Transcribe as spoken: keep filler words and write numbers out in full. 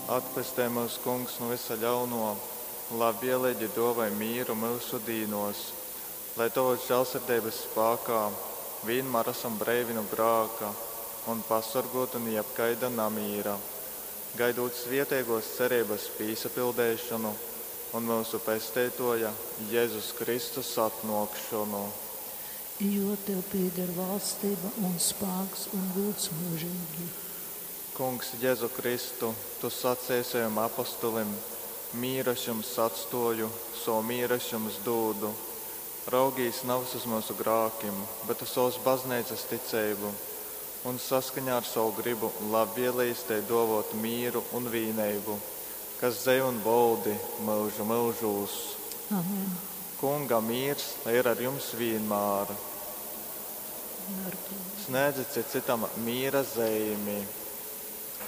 Atpestej myus, Kungs, nu vysa ļauno, labvieleigi duovoj mīru myusu dīnuos, lai Tovas žālsirdeibas spākā vīnmār asam breivi nu grāka un pasorguoti nu jebkaida namīra, gaidūt svieteiguos cereibas pīsapildeišonu un myusu Pesteituoja Jezus Kristus atnuokšonu. Jo tev pieder valstība un spāks un gūds mūžīgi. Kungs, Jezu Kristu, Tu saceji savim apostolim: Mīru es jums atstoju, savu mīru es jums dūdu. Raugīs nevis uz mūsu grākim, bet uz savas bazneicas ticeibu, un saskaņā ar savu gribu labvēlījis tai dovot mīru un vīneibu, kas dzej un voldi mūžu mūžūs. Amen. Kunga mīrs lai ir ar jums vienmēr. Un ar tevi. Snēdzit citam mīra zeimi.